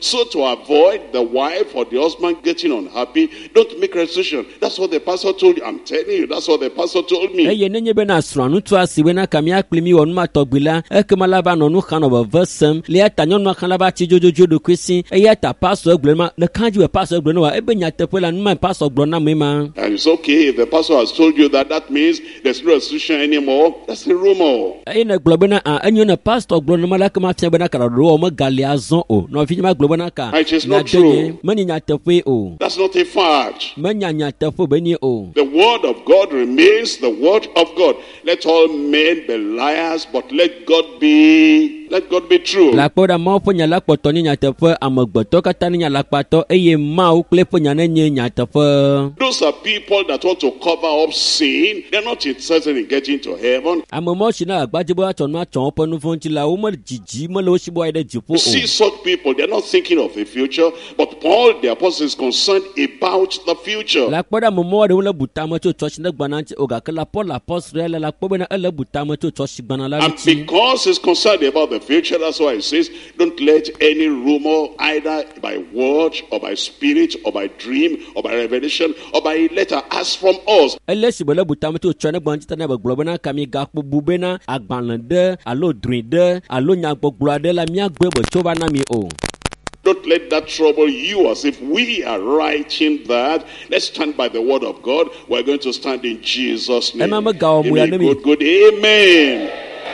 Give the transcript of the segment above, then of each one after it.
So to avoid the wife or the husband getting unhappy, don't make restitution. That's what the pastor told you. I'm telling you, that's what the pastor told me. Eye nenye bena srɔ̃a ŋutsua si bena ka mía kpli mi wɔ nu ma tɔgbi la, ekema la va nɔ nu xam nɔ veve sem. Le eya ta nyɔnua hã la va tsi dzodzodzoe ɖokui si. Eya ta pastor egblɔ ma le kã dzi be pastor egblɔ ne wa ebe nyateƒe la nu ma pastor gblɔ na me ma. And it's okay if the pastor has told you that, that means there's no restitution anymore. That's a rumor. Eye ne gblɔ bena a enyo ne pastor gblɔ ne ma la ekema fia bena ka ɖoɖowɔ megali azɔ o. Nɔvi ma gblɔ bena ka It is not nyadenye true. menye nyateƒe o. That's not a fact. Menya nyateƒe be nye o. The word of God remains the word of God. Let all men be liars, but let God be true. Le akpɔ ɖa Mawu ƒe nya la kpɔtɔ nye nyateƒe, amegbetɔ katã nye alakpatɔ eye Mawu kple eƒe nya nenye nyateƒe. Those are people that want to cover up sin. They're not interested in getting to heaven. Ame mawo si na agbadze be woatsɔ nu atsɔ woƒe nu vɔ̃ ŋuti la, wome dzidzi mele wo si be woayi ɖe dziƒo You see o. such people, they're not thinking of the future, but Paul the apostle is concerned about the future. Le akpɔ ɖe ame mawo ɖewo le bu tame tso tsɔtsi ne gbana ŋuti o gake la Paul apostol ya le la kpɔ bena ele bu tame tso tsɔtsi gbana la And ŋuti. because he's concerned about the future, that's why he says, don't let any rumor, either by word or by spirit or by dream or by revelation or by letter, ask from us. Ele si be le bu tame tso tsɔ ne gbana ŋuti ta ne be gblɔ bena ka mi gakpo bu bena agbalẽ ɖe alo drɔ̃e ɖe alo nyagbɔgblɔ aɖe la míagblɔe be tso va na mi o. Don't let that trouble you as if we are writing that. Let's stand by the word of God. We're going to stand in Jesus' name. Ema megawɔ Give mo me ya a ne mi. good, good amen.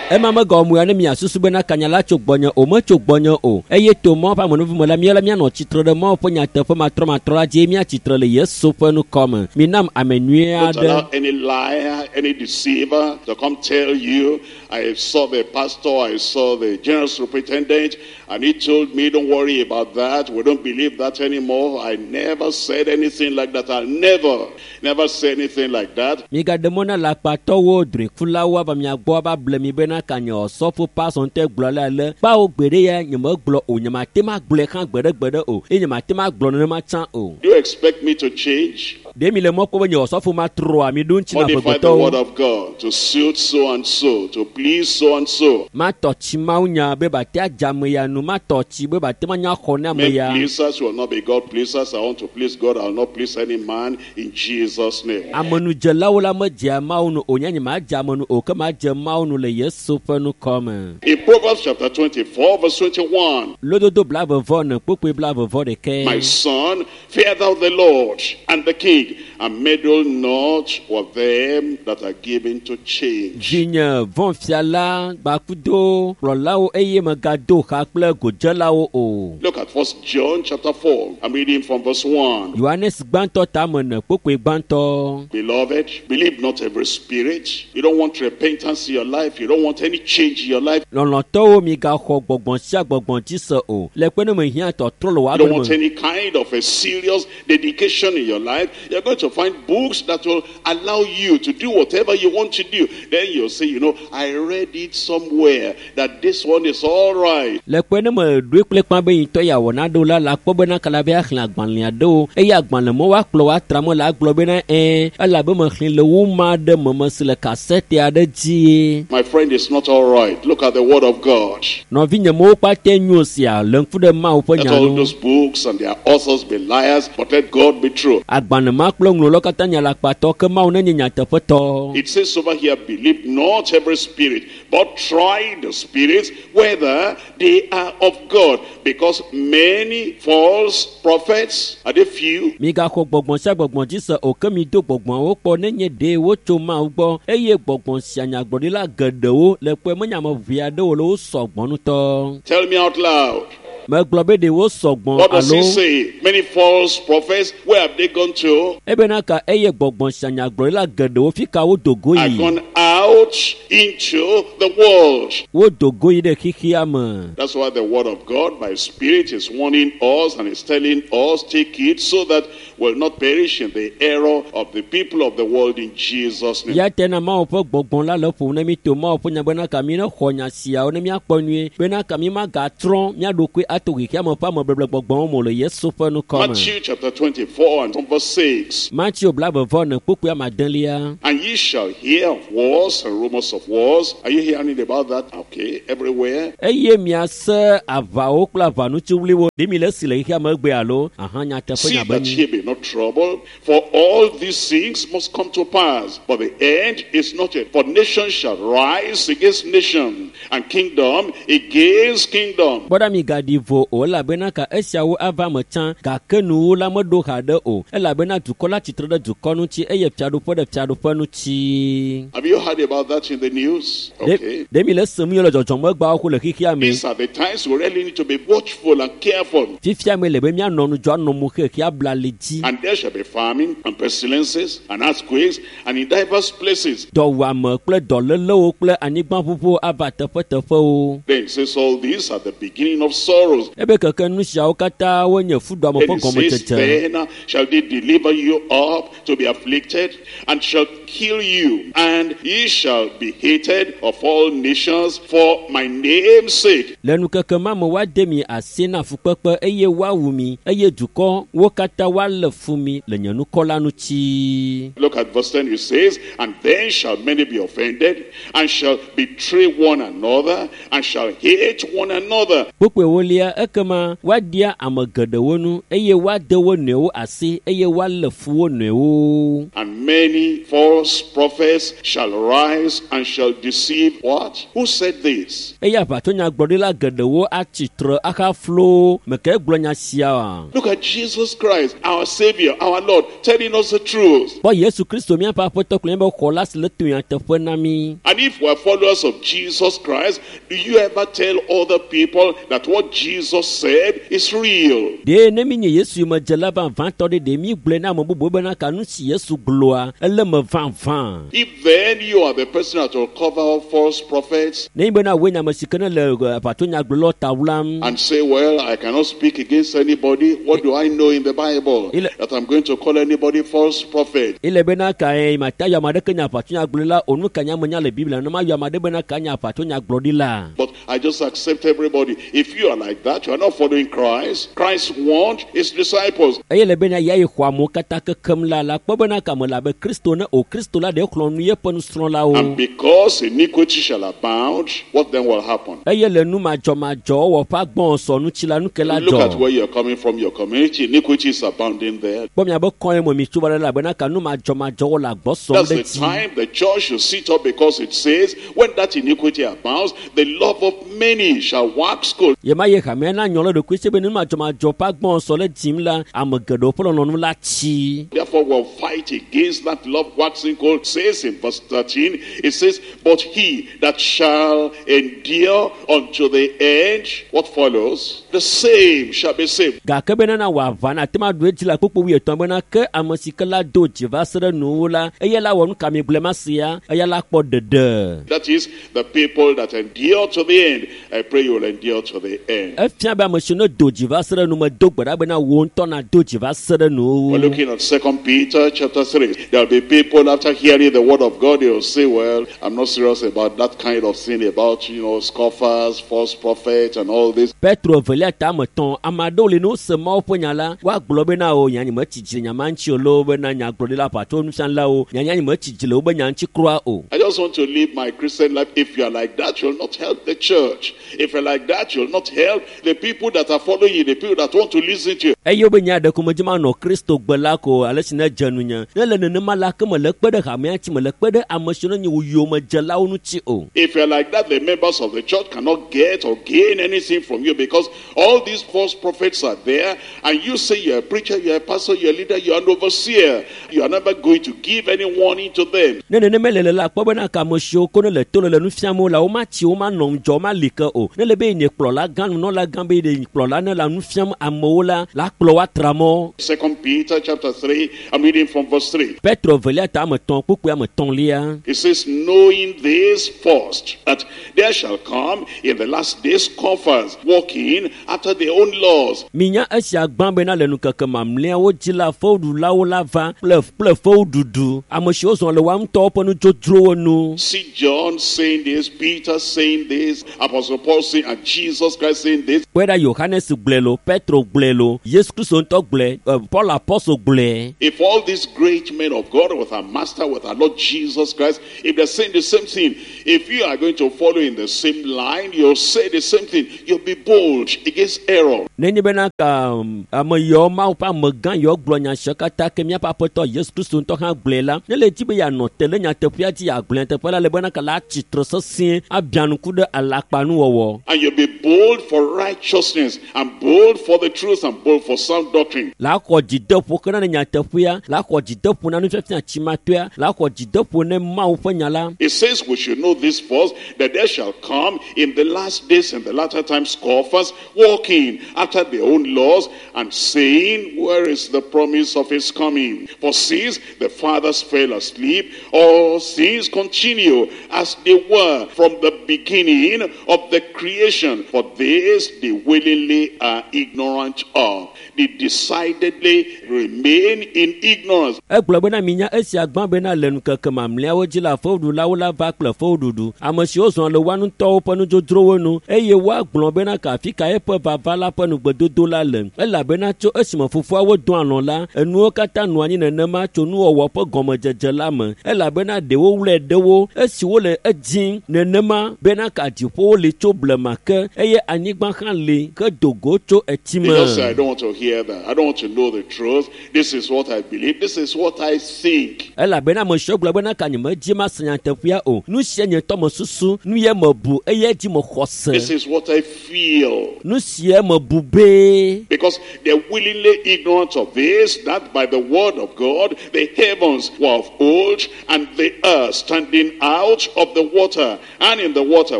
Ema megawɔ mo ya ne miasusu bena kanya la tso gbɔnye o, metso gbɔnye o. Eye to Mawu ƒe amenuvi me la, míawo la míanɔ tsitre ɖe Mawu ƒe nyateƒe matrɔmatrɔ la dzi eye míatsitre le Yesu ƒe nukɔme. Minam ame nyui Don't aɖe. allow any liar, any deceiver to come tell you, I saw the pastor, I saw the general superintendent, and he told me, don't worry about that. We don't believe that anymore. I never said anything like that. I'll never, never say anything like that. Migaɖe mɔ na lakpatɔwo, drɔ̃ekulawo ava mia gbɔ ava ble mi bena ka nye osɔfo pastor ŋutɔe gblɔ le ale. Kpawo gbeɖe ya nyemegblɔ o, nyemate ma gblɔe hã gbeɖegbeɖe o eye nyemate ma gblɔ nenema tsã o. Do you expect me to change? Ɖe mi le mɔ kpɔm be nye osɔfo matrɔa mi ɖo ŋuti na Modify the word amegbetɔwo. of God to suit so and so, to please so and so. Matɔ tsi Mawu nya be bate adze ame ya nu, matɔ tsi be bate manya xɔ ne ame Men ya. pleasers will not be God pleasers. I want to please God. I will not please any man in Jesus' name. Amenudzelawo la medzea Mawu nu o, nye nyemadze ame nu o, ke madze Mawu nu le Yesu ƒe nukɔme. In Proverbs chapter 24, verse 21, Lododo 24 kpukpui 21. My son, fear thou the Lord and the king, and meddle not with them that are given to change. Vinye vɔ̃ fia la gbakudo kplɔlawo eye megado xa kple godzelawo o. Look at 1 John chapter 4. I'm reading from verse 1. Yohanes gbãtɔ tame ene kpukpui gbãtɔ. Beloved, believe not every spirit. You don't want repentance in your life. You don't want any change in your life. Lɔlɔ̃tɔwo migaxɔ gbɔgbɔn sia gbɔgbɔn dzi se o. Le kpe ne mehiã tɔtrɔ le wò You don't agbe want me. any kind of a serious dedication in your life. You're going to find books that will allow you to do whatever you want to do. Then you'll say, you know, I read it somewhere that this one is all right. Le kpe ne meɖoe kple kpã be yintɔ ya wɔ naɖewo la, la kpɔ bena kala be axlẽ agbalẽ aɖewo eye agbalẽ me woakplɔ woatra me la agblɔ bena ɛɛ elabe mexlẽ le woma ɖe me mesi le kasɛte aɖe dzie. My friend, it's not all right. Look at the word of God. Nɔvinye mewo kpatɛ nyo sia le ŋku ɖe Mawu ƒe Let nya all nu. those books and their authors be liars, but let God be true. Agbalẽ ma kple ŋlɔlawo katã nye alakpatɔ ke Mawu nenye nyateƒetɔ. It says over here, believe not every spirit, but try the spirits whether they are of God. Because many false prophets, are they few? Migaxɔ gbɔgbɔn sia gbɔgbɔn dzi se o ke mido gbɔgbɔnwo kpɔ nenye ɖe wotso Mawu gbɔ eye gbɔgbɔn sia nyagblɔɖila geɖewo le kpɔe menye ame ʋɛ aɖewo le wo sɔgbɔ ŋutɔ. Tell me out loud. Megblɔ be ɖe wo sɔgbɔ What does he alo say? Many false prophets, where have they gone to? ebena ka eye gbɔgbɔn sia nyagblɔɖila geɖewo fi ka wodo go Are yi. gone out into the world. Wodo go yi ɖe xexea me. That's why the word of God by Spirit is warning us and is telling us, take it so that we'll not perish in the error of the people of the world in Jesus' name. Ya te na Mawu ƒe gbɔgbɔn la le ƒom ne mi to Mawu ƒe nya bena ka mi ne xɔ nya siawo ne miakpɔ nyuie bena ka mi magatrɔ mía ɖokui ato xexea me ƒe amebeble gbɔgbɔwo me le Yesu ƒe nukɔme. Matthew chapter 24 and from verse 6. Mateo 24 kpukpui amadẽlia. And ye shall hear of wars wars and rumors of wars. Are you hearing about that? Okay, everywhere. Eye miase aʋawo kple aʋanutsiwliwo ɖe mi le esi le xexea me egbe alo aha nyateƒe See nya be that nyi. ye be not troubled, for all these things must come to pass. But the end is not yet. For nation shall rise against nation, and kingdom against kingdom. Kpɔ ɖa mi gaɖi vo o elabena ka esiawo ava me tsã gake nuwo la meɖo haɖe o elabena dukɔ la tsitre ɖe dukɔ ŋuti eye fiaɖuƒe ɖe fiaɖuƒe ŋuti. Have you heard about that in the news? Ɖe Okay. ɖe mi le sem yɔ le dzɔdzɔmegbawo ko le xexea me. These are the times we really need to be watchful and careful. Fifia me le be míanɔ ŋudzɔ anɔ mo xexea bla li dzi. And there shall be famine and pestilences and earthquakes and in diverse places. Dɔwuame kple dɔlélewo kple anyigbaʋuʋuwo ava teƒeteƒewo. Then it says all these are the beginning of sorrows. Ebe keke nu siawo katã wonye fuɖuame Then ƒe it says, gɔmedzedze. then shall they deliver you up to be afflicted, and shall kill you, and ye shall be hated of all nations for my name's sake. Le nukeke ma me woade mi asi na fukpekpe eye woawu mi eye dukɔ wo katã woalé fu mi le nye nukɔ la ŋuti. Look at verse 10, it says, And then shall many be offended, and shall betray one another, and shall hate one another. Kpukpui ewolia ekema woaɖia ame geɖewo nu eye woade wo nɔewo asi eye woalé fu wo nɔewo. And many false prophets shall rise and shall deceive what? Who said this? Eye aʋatsonyagblɔɖila geɖewo atsi tre ahaflo meke gblɔ nya sia oa? Look at Jesus Christ, our Savior, our Lord, telling us the truth. Kpɔ Yesu Kristo míaƒe aƒetɔ kple míaƒe xɔla si le to nyateƒe na mí. And if we're followers of Jesus Christ, do you ever tell other people that what Jesus said is real? Ɖe ne mi nye Yesu yomedzela vavãtɔ ɖe ɖe mi gblɔe na ame bubuwo bena ka nu si Yesu gblɔa ele me vavã. If then you are the person that will cover up false prophets Ne nyi bena woe nye ame si ke ne le aʋatsonyagblɔlawo ta wlam and say, well, I cannot speak against anybody, what do I know in the Bible that I'm going to call anybody false prophet? ele bena ka ye mata yɔ ame aɖeke nye aʋatsonyagblɔla o nu ka nye amenya le Biblia ne ma yɔ ame aɖe bena ka nye aʋatsonyagblɔɖila. But I just accept everybody. If you are like that, you are not following Christ. Christ warned his disciples. Eye le bena ya yi xɔ amewo katã kekem la la kpɔ bena ka me le abe Kristo ne o Kristo la ɖe xlɔ̃ nu yeƒe nusrɔ̃lawo. And because iniquity shall abound, what then will happen? Eye le nu madzɔmadzɔwɔwɔ ƒe agbɔsɔ ŋuti la nu ke la Look at dzɔ. where you're coming from, your community. Iniquity is abounding there. Kpɔ miabe kɔe me mi tso va ɖe elabena ka nu madzɔmadzɔwɔ le agbɔ sɔm That's ɖe the dzi. time the church should sit up, because it says, when that iniquity abounds, the love of many shall wax cold. Ye ma ye hamea na nyɔ le ɖokui si be nu madzɔmadzɔ ƒe agbɔsɔ le dzim la ame geɖewo ƒe lɔlɔ̃nu la tsi. Therefore, we'll fight against that love waxing cold. Says in verse 13, it says, But he that shall endure unto the end, what follows? The same shall be saved. Gake bena na wò aʋa na ate ŋu aɖu edzi le kpukpu wuietɔ̃ bena ke ame si ke la do dzi va se ɖe nuwuwu la eya la wɔ nu ka mi gblẽ ma sia eya la kpɔ ɖeɖe. That is, the people that endure to the end. I pray you will endure to the end. Efia be ame si ne do dzi va se ɖe nu me do gbe ɖa bena wò ŋutɔ na do dzi va se ɖe We're nuwuwu. looking at 2 Peter chapter 3. There'll be people after hearing the word of God, they'll say, well, I'm not serious about that kind of thing, about, scoffers, false prophets, and all this. Petro evelia ta ame etɔ̃ ame aɖewo li ne wose Mawu ƒe nya la woagblɔ bena o nya nye metsi dzi le nya ma ŋuti o loo bena nyagblɔɖila aʋatso nufialawo nya nya nye metsi dzi le wobe nya ŋuti kura o. I just want to live my Christian life. If you are like that, you'll not help the church. If you're like that, you'll not help the people that are following you, the people that want to listen to you. Eye wobe nya ɖe ko medzi manɔ Kristo gbe la ko ale si ne dze nunye. Ne le nenema la ke mele kpe ɖe hamea ŋuti mele kpe ɖe ame siwo nye wò yomedzelawo ŋuti o. If you're like that, the members of the church cannot get or gain anything from you, because all these false prophets are there, and you say you're a preacher, you're a pastor, you're a leader, you're an overseer. You are never going to give any warning to them. Ne nenema le le la kpɔ bena ka ame siwo ko ne le to le le nu fiam wo la womatsi womanɔ ŋudzɔ womali ke o. Ne le be ye nye kplɔla gã nunɔla gã be ye kplɔla ne le nu fiam amewo la la kplɔ wo atra mɔ. 2 Peter chapter 3, I'm reading from verse 3. Petro evelia ta ame etɔ̃ kpukpui ame etɔ̃lia. It says, knowing this first, that there shall come in the last days scoffers, walking after their own laws. Minya esia gbã bena le nukeke mamlɛawo dzi la fewuɖulawo la va kple kple fewuɖuɖu. Ame siwo zɔ le woa ŋutɔwo ƒe nudzodzrowo nu. See John saying this, Peter saying this, Apostle Paul saying, and Jesus Christ saying this. Kpɔe ɖa Yohanes gblɔe lo, Petro gblɔe lo, Yesu Kristo ŋutɔ gblɔe, Paul apɔstol gblɔe. If all these great men of God with our Master, with our Lord Jesus Christ, if they're saying the same thing, if you are going to follow in the same line, you'll say the same thing. You'll be bold against error. Nenye bena ka ame yawo Mawu ƒe amegã yawo gblɔ nya siawo katã ke míaƒe aƒetɔ Yesu Kristo ŋutɔ hã gblɔe la, ne le dzi be yeanɔ te le nyateƒea dzi yeagblɔ nyateƒe la le bena ka la atsi tre sesĩe abia ŋku ɖe alakpanuwɔwɔ. And you'll be bold for righteousness, and bold for the truth, and bold for sound doctrine. La xɔ dzideƒo kena ne nyateƒea, la xɔ dzideƒo na nufiafia tsimatoea, la xɔ dzideƒo ne Mawu ƒe nya la. It says we should know this first, that there shall come in the last days, in the latter times, scoffers, walking after their own laws, and saying, where is the promise of his coming? For since the fathers fell asleep, all things continue as they were from the beginning of the creation. For this they willingly are ignorant of. They decidedly remain in ignorance. Egblɔ bena minya esia gbã bena le ŋkeke mamlɛawo dzi la fewuɖulawo la va kple fewuɖuɖu. Ame siwo zɔ le woa ŋutɔwo ƒe nudzodzrowo nu eye woagblɔ bena ka afi ka eƒe vava la ƒe nugbedodo la le. Elabena tso esime fofoawo do alɔ̃ la, enuwo katã nɔ anyi nenema tso nuwɔwɔ ƒe gɔmedzedze la me. Elabena ɖewo wlɔe ɖewo esi wole edzim nenema bena ka dziƒowo li tso blema ke eye anyigba hã li ke do go tso etime. They just say, I don't want to hear that. I don't want to know the truth. This is what I believe. This is what I think. Elabena ame siwo gblɔ bena ka nyemedzi mase nyateƒea o. Nu sia nye ŋutɔ mesusu, nu ye mebu eye dzi mexɔ se. This is what I feel. Nu sia mebu be. Because they're willingly ignorant of this, that by the word of God, the heavens were of old, and the earth standing out of the water, and in the water,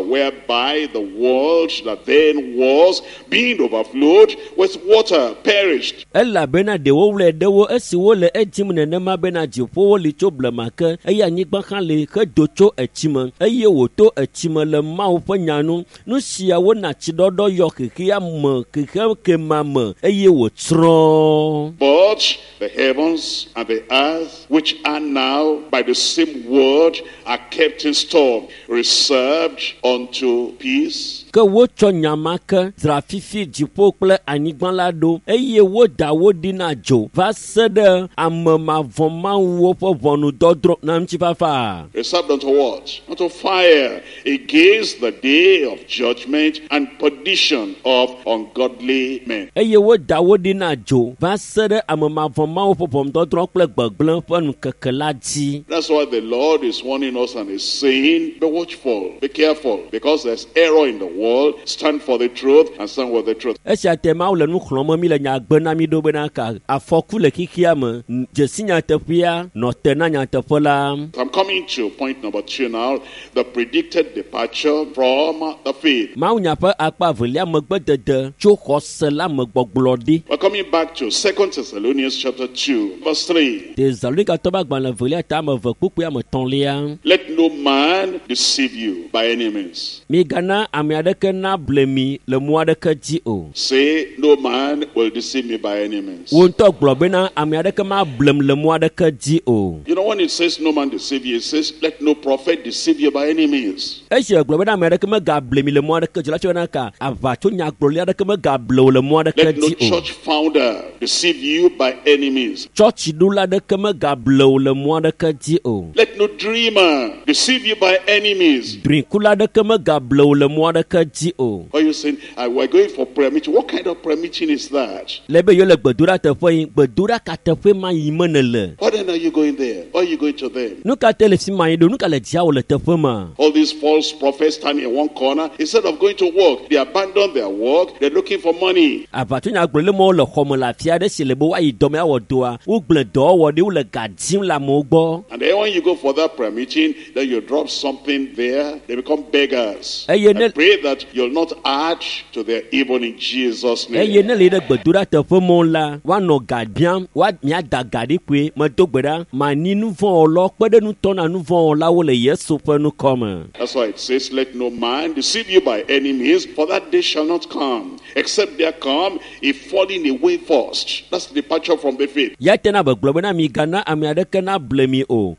whereby the world that then was, being overflowed with water, perished. Elabena ɖewo wlɔe ɖewo esi wole edzim nenema bena dziƒowo li tso blema ke eye anyigba hã li hedo tso etsime eye wòto etsime le Mawu ƒe nya nu. Nu siawo na tsiɖɔɖɔ yɔ xexea me xexe kema me eye wòtsrɔ̃. But the heavens and the earth, which are now by the same word, are kept in store, reserved unto peace. Ke wotsɔ nya ma ke dzra fifi dziƒo kple anyigba la ɖo eye woda wo ɖi na dzo va se ɖe ame mavɔ̃mawuwo ƒe ʋɔnudɔdrɔ̃ na ŋutifafa. Reserved unto what? Unto fire, against the day of judgment and perdition of ungodly men. Eye woda wo ɖi na dzo va se ɖe ame mavɔ̃mawu ƒe ʋɔnudɔdrɔ̃ kple gbegblẽ ƒe ŋkeke la dzi. That's why the Lord is warning us and is saying, be watchful, be careful, because there's error in the world. Stand for the truth and stand with the truth. Esia te Mawu le nu xlɔ̃m mi le nya gbe na mi ɖo bena ka afɔku le xexea me, dzesi nyateƒea, nɔ te na nyateƒe la. I'm coming to point number 2 now, the predicted departure from the faith. Mawu nya ƒe akpa evelia megbedede tso xɔse la me gbɔgblɔ ɖi. We're coming back to 2 Thessalonians chapter 2, verse 3. Tesalonikatɔ ƒe agbalẽ evelia ta ame eve kpukpui ame etɔ̃lia. Let no man deceive you by any means. Migana ame aɖeke nable mi le mɔ aɖeke dzi o. Say, no man will deceive me by any means. Wo ŋutɔ gblɔ bena ame aɖeke mablem le mɔ aɖeke dzi o. You know, when it says no man deceive you, it says let no prophet deceive you by any means. Esi gblɔ bena ame aɖeke megable mi le mɔ aɖeke dzi la, tsɔ bena ka aʋatso nyagblɔɖi aɖeke megable wo le mɔ aɖeke Let no dzi o. church founder deceive you by any means. Tsɔtsiɖola aɖeke megable wo le mɔ aɖeke dzi o. Let no dreamer deceive you by any means. Drikula aɖeke megable wo le mɔ aɖeke dzi o. Are you saying, we're going for prayer meeting? What kind of prayer meeting is that? Le be yewo le gbedoɖa teƒe yi, gbedoɖa ka teƒe ma yi me nèle? Why then are you going there? Why are you going to them? Nu ka te le fi ma yi ɖo? Nu ka le dziawò le teƒe ma? All these false prophets standing in one corner, instead of going to work, they abandon their work, they're looking for money. Aʋatsonyagblɔɖi mawo le xɔme le afi aɖe si le be woayi dɔme awɔ dɔa, wogblẽ dɔwɔwɔ ɖi, wole ga dim le amewo gbɔ. And then when you go for that prayer meeting, then you drop something there, they become beggars. Eye I ne pray that you'll not add to their evil in Jesus' eye name. ne le yi ɖe gbedoɖa teƒe mɔ la, woanɔ ga biam, woa miada ga ɖi koe, medo gbe ɖa, mani nu vɔ̃ wɔlawo kpe ɖe nutɔ na nu vɔ̃ wɔlawo le Yesu ƒe ŋkɔme. That's why it says, let no man deceive you by any means, for that day shall not come, except there come a falling away first. That's the departure from the faith. Ya te na be gblɔ bena migana ame aɖeke nable mi o.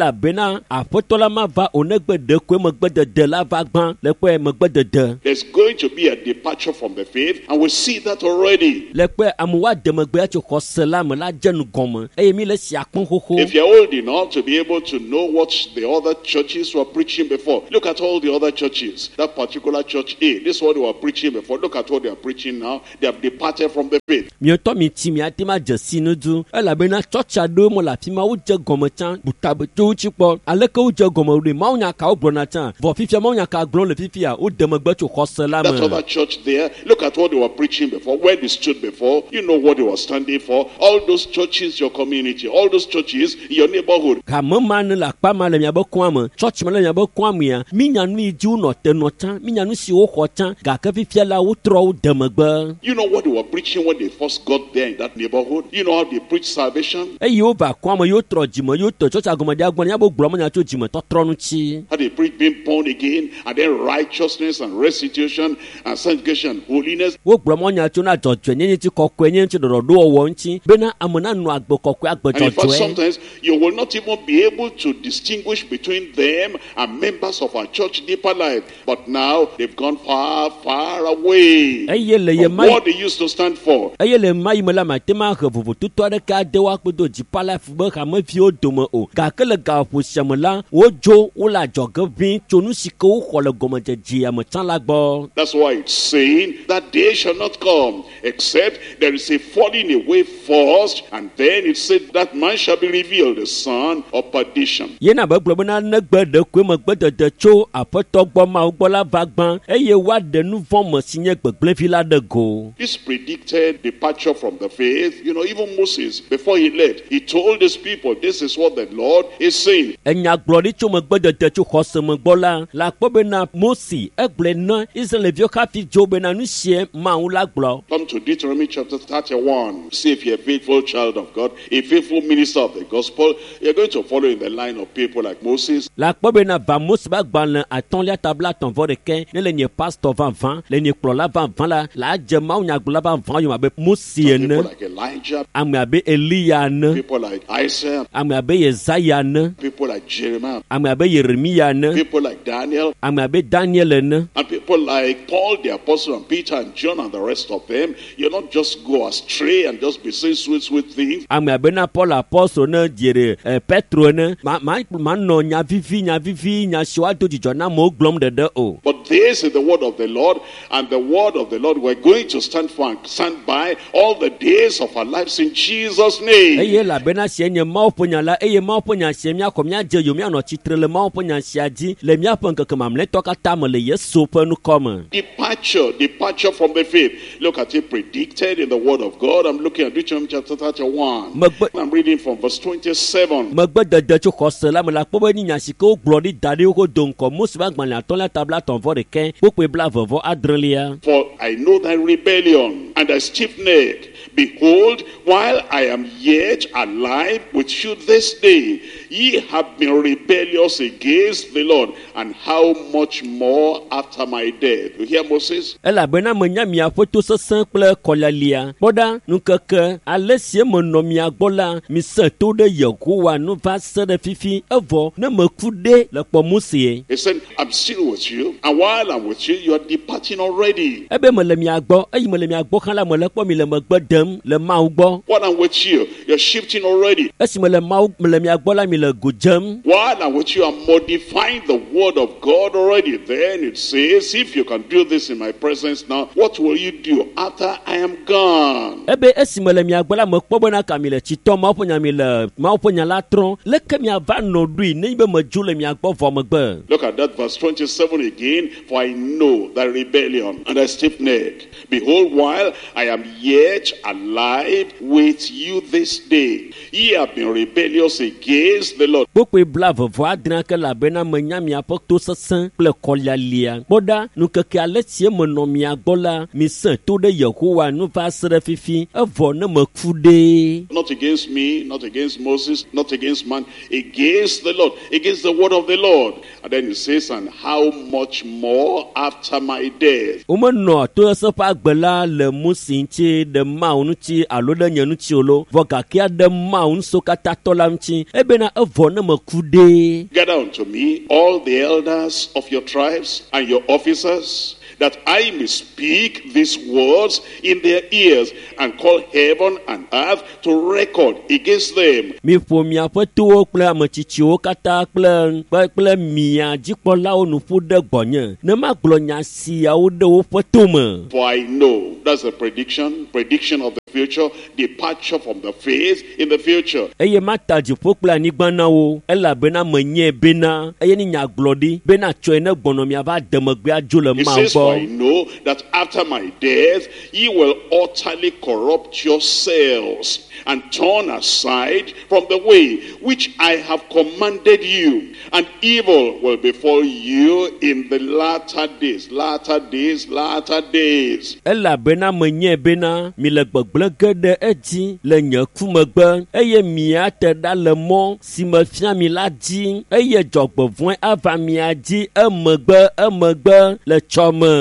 Elabena aƒetɔ la mava o negbe ɖekoe megbedede la va gbã le kpɔe megbedede. There's going to be a departure from the faith, and we see that already. Le kpɔe amewo ade megbe tso xɔse la me la dze nu gɔme eye mi le sia kpɔm xoxo. If you're old enough to be able to know what the other churches were preaching before, look at all the other churches. That particular church A, this is what they were preaching before. Look at what they are preaching now. They have departed from the faith. Miɔtɔ mi tsi miate ma dze si nu du elabena tsɔtsi aɖewo me le afi ma wodze gɔme tsã butabe tso wo tsi kpɔ aleke wodze gɔme ɖoe mawunya ka wogblɔna tsã vɔ fifia mawunya ka gblɔm le fifia wode megbe tso xɔse la That me. other church there, look at what they were preaching before, where they stood before. You know what they were standing for. All those churches, your community, all those churches in your neighborhood. Hame ma ne le akpa ma le miabe kɔa me tsɔtsi ma le miabe kɔa mea minya nu yi dzi wonɔ te nɔ tsã minya nu si woxɔ tsã gake fifia la wotrɔ wo de megbe. You know what they were preaching when they first got there in that neighborhood. You know how they preached salvation. Eye wova kɔa me yewo trɔ dzime yewo tɔ tsɔtsia gɔme ɖia gbɔ miabe gblɔ menya tso dzimetɔtrɔ ŋuti. How they preached being born again, and then righteousness and restitution and sanctification and holiness. Wogblɔ mɔnya tso na dzɔdzɔenyenye ŋuti kɔkɔenyenye ŋuti ɖɔɖɔɖowɔwɔ ŋuti bena ame nanɔ agbe kɔkɔe agbe And in fact, dzɔdzɔe. sometimes you will not even be able to distinguish between them and members of our church deeper life. But now they've gone far, far away Eye le ye from ma what they used to stand for. Eye le ma yi me la mate ma he vovototo aɖeke ade woakpe do dzipa life be hameviwo dome o gake le gaƒo sia me la wodzo wole adzɔge ʋĩ tso nu si ke woxɔ le gɔmedzedzea me tsã la gbɔ. That's why it's saying that day shall not come except there is a falling away first, and then it said that man shall be revealed, the son of perdition. Yena be gblɔ bena negbe ɖekoe megbedede tso aƒetɔ gbɔ Mawu gbɔ la va gbã eye woaɖe nu vɔ̃ me si nye gbegblẽvi la ɖe go. This predicted departure from the faith, you know, even Moses, before he left, he told his people, this is what the Lord is saying. Enyagblɔɖi tso megbedede tso xɔse me gbɔ la la kpɔ bena Mose egblɔe na Israelviwo hafi dzo bena nu sie Mawu la gblɔ. Come to Deuteronomy chapter 31. See if you're a faithful child of God, a faithful minister of the gospel, you're going to follow in the line of people like Moses, La kpɔ bena va Mose ƒe agbalẽ atɔ̃lia ta 35 ne le nye pastor vavã le nye kplɔla vavã la la dze Mawu nyagblɔla vavã yome abe Mose people ene, like Elijah, ame abe Eliya ene, people like Isaiah, ame abe Yesaya ene, people like Jeremiah, ame abe Yeremiya ene, people like Daniel, ame abe Daniel ene. and people like Paul the apostle and Peter and John and the rest of them. You not just go astray and just be saying sweet, sweet things. Ame abe na Paul apostol ne dzere Petro ene ma ma manɔ nya vivi nya vivi nya siwo ado dzidzɔ na amewo gblɔm ɖeɖe o. But this is the word of the Lord, and the word of the Lord we're going to stand for and stand by all the days of our lives in Jesus' name. Eye elabena sie nye Mawu ƒe nya la eye Mawu ƒe nya sie míaxɔ míadze yome míanɔ tsitre le Mawu ƒe nya sia dzi le míaƒe ŋkeke mamlɛtɔ katã me le Yesu ƒe ŋkɔ me. Departure, departure from the faith. Look at it predicted in the word of God. I'm looking at Deuteronomy chapter 31. Megbe I'm reading from verse 27. megbedede tso xɔse la me la kpɔ be ni nya si ke wogblɔ ɖi da ɖi woƒe do ŋkɔ Mose ƒe agbalẽ atɔ̃lia ta 36 kpukpui 29. For I know thy rebellion and thy stiff neck. Behold, while I am yet alive with you this day, ye have been rebellious against the Lord, and how much more after my death? You hear Moses? Elabena menya miaƒe tosesẽ kple kɔlialia. Kpɔ ɖa, ŋkeke ale si menɔ mia gbɔ la, mise to ɖe Yehowa nu va se ɖe fifi evɔ ne meku ɖe le kpɔ Mose. He said, I'm still with you, and while I'm with you, you are departing already. Ebe mele mia gbɔ, eyi mele mia gbɔ hã la mele kpɔ mi le megbe dem le Mawu gbɔ. While I'm with you, you're shifting already. Esi mele Mawu mele mia gbɔ la mi le go dzem. While I'm with you, I'm modifying the word of God already. Then it says, if you can do this in my presence now, what will you do after I am gone? Ebe esi mele mia gbɔ la mekpɔ bena ka mi le tsitɔ Mawu ƒe nya mi le Mawu ƒe nya la trɔm. Leke miava nɔ ɖoe nenye be medzo le mia gbɔ vɔ megbe? Look at that verse 27 again. For I know thy rebellion and thy stiff neck. Behold, while I am yet alive with you this day, ye have been rebellious against the Lord. Kpukpui 26 ke elabena menya miaƒe tosesẽ kple kɔlialia. Kpɔ ɖa, ŋkeke ale si menɔ mia gbɔ la, mise to ɖe Yehowa nu va se ɖe fifi evɔ ne meku ɖe. Not against me, not against Moses, not against man, against the Lord, against the word of the Lord. And then he says, and how much more after my death? Womenɔ tosesẽ ƒe agbe la le Mose ŋuti ɖe Mawu Mawu ŋuti alo ɖe nye ŋuti o lo vɔ gake aɖe Mawu ŋusẽkatãtɔ la ŋuti ebena evɔ ne meku ɖe. Gather unto me all the elders of your tribes and your officers, that I may speak these words in their ears and call heaven and earth to record against them. Miƒo miaƒe towo kple ametsitsiwo katã kple kple kple mia dzikpɔlawo nu ƒu ɖe gbɔnye ne magblɔ nya siawo ɖe woƒe tome. For I know, that's a prediction, prediction of the future, departure from the faith in the future. Eye mata dziƒo kple anyigba na wo elabena menyae bena eye ne nyagblɔɖi bena tsɔe ne gbɔnɔ miava de megbe adzo le He Mawu says, For I gbɔ. know that after my death, ye will utterly corrupt yourselves and turn aside from the way which I have commanded you, and evil will befall you in the latter days, latter days, latter days. Elabena menyae bena mi le gbegblẽ ge ɖe edzi le nye ku megbe eye miate ɖa le mɔ si mefia mi la dzi eye dzɔgbevɔ̃e ava mia dzi emegbe emegbe le tsɔme.